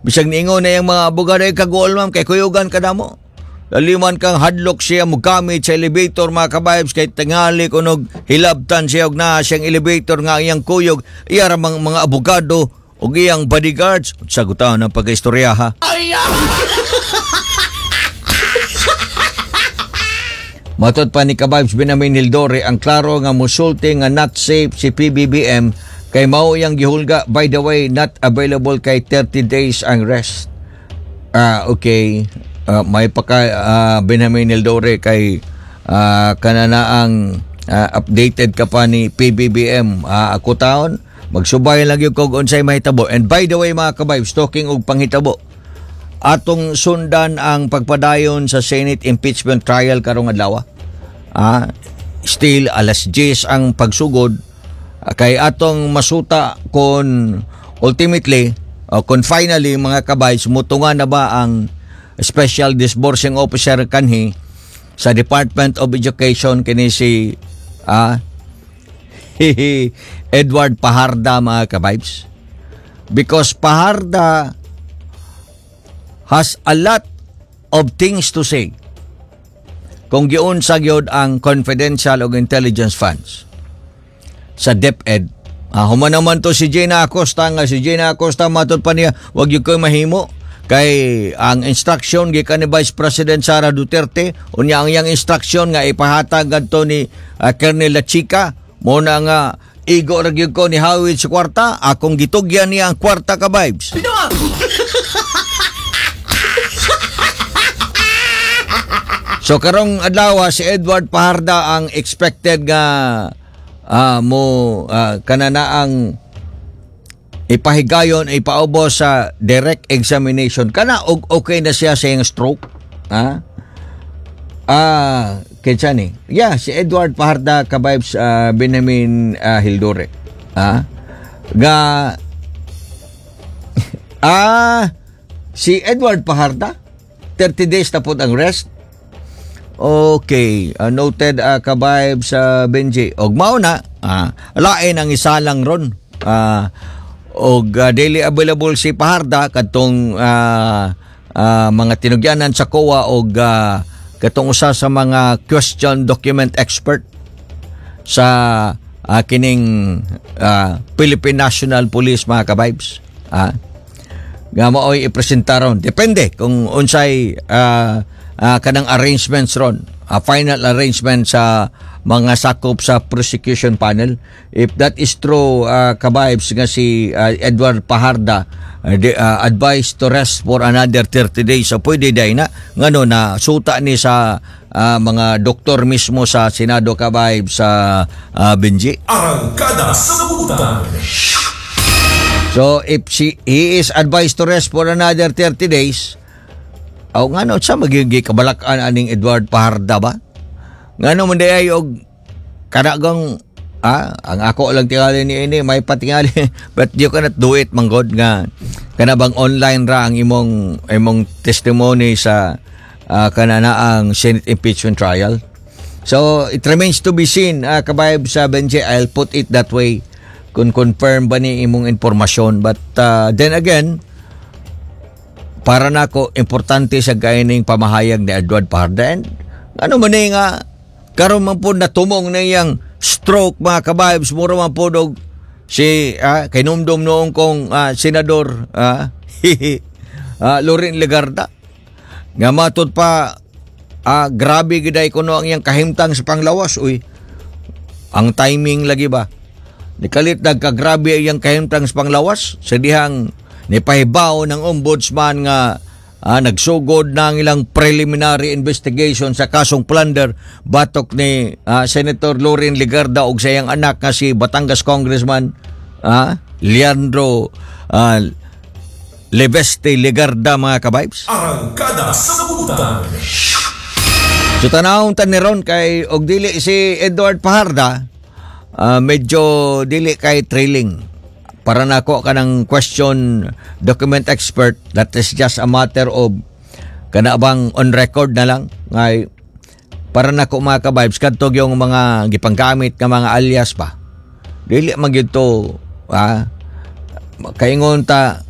Bisag niingon na yung mga abogado ay kaguol, ma'am, kay kuyugan ka namo. Laliman kang hadlok siya mogamit sa elevator, mga kabibes, kay tingali kunog hilabtan siya og naa siyang elevator nga iyang kuyog iya ra mga abogado ug iyang bodyguards. Sagutan ang pagkaistorya, ha. Matod pa ni Kabibes Benjamin Hildore, ang klaro nga musulti nga not safe si PBBM kay mao iyang gihulga. By the way, not available kay 30 days ang rest. Ah, okay. May paka Benjamin Hildore kay kananaang updated ka pa ni PBBM. Ako taon, magsubay lang yung kog unsay mahitabo. And by the way, mga kabibes, talking og panghitabo, atong sundan ang pagpadayon sa Senate impeachment trial karong adlaw. Still alas 10 ang pagsugod. Kay atong masuta kung ultimately o kung finally, mga kabay, mutunga na ba ang special disbursing officer kanhi sa Department of Education kini si Edward Fajarda, mga kabibes, because Fajarda has a lot of things to say kung giunsa gyud ang confidential og intelligence funds sa DepEd. Human naman to si Gina Acosta nga si Gina Acosta, matod pa niya, wag gyud koy mahimo kay ang instruction gikan ni Vice President Sara Duterte, unya ang iyang instruction nga ipahatag gadto ni Colonel La Chica mo na nga igo ra gyud ko ni hawid sa kwarta, akong gitugyan niya ang kwarta ka vibes. So karong adlaw si Edward Fajarda ang expected nga mo kananaang ipahigayon, ipaubos sa direct examination kana og okay na siya sa iyang stroke. Kinsa ni? Yeah, si Edward Fajarda, kabibes Benjamin Hildore. Nga si Edward Fajarda, 30 days na po ang rest. Okay, noted, kabayb sa Benji. Og mao na, lain ang isalang ron. Og daily available si Fajarda kadtong mga tinugyanan sa COA og katong usa sa mga question document expert sa kining Philippine National Police, mga kabibes. Nga mao'y ipresenta ron. Depende kung unsay kanang arrangements ron. Final arrangement sa mga sakop sa prosecution panel. If that is true, kabibes, nga si Edward Fajarda advised to rest for another 30 days. So pwede day na ngano na suta ni sa mga doktor mismo sa Senado, kabibes sa Benji. Arangkada sa Butang. So if he is advised to rest for another 30 days, aw ngano sa magiging kabalakan aning Edward Fajarda ba? Ngano man day og kanagang ang ako lang tingali ni ini may patingali, but you cannot do it manggod nga kana bang online ra ang imong imong testimony sa kananaang Senate impeachment trial. So it remains to be seen, kabayab sa Benji, I'll put it that way, kung confirm ba ni imong impormasyon. But then again, para nako importante sa gaining pamahayag ni Edward Fajarda. And ano man ni nga karon man po natumong na iyang stroke, mga kabibes, mura man po og si kinumdum noong kong senador Loren Legarda nga matud pa grabe giday kuno ang iyang kahimtang sa panglawas. Uy, ang timing lagi ba nikalit nagkagrabe iyang kahimtang sa panglawas sa dihang nipahibaw ng ombudsman nga nagsugod na ang ilang preliminary investigation sa kasong plunder batok ni Senator Loren Legarda ug sa iyang anak nga si Batangas Congressman Leandro Leveste Legarda, mga kabibes. Arangkada sa Butang. So tanawon ta ni ron kay og dili si Edward Fajarda, medyo dili kay trailing. Para nako kanang question document expert, that is just a matter of kana bang on record na lang ngay para nako, mga ka-vibes, kadto yung mga gipanggamit nga mga alias pa, dili man gyud to kaingon ta.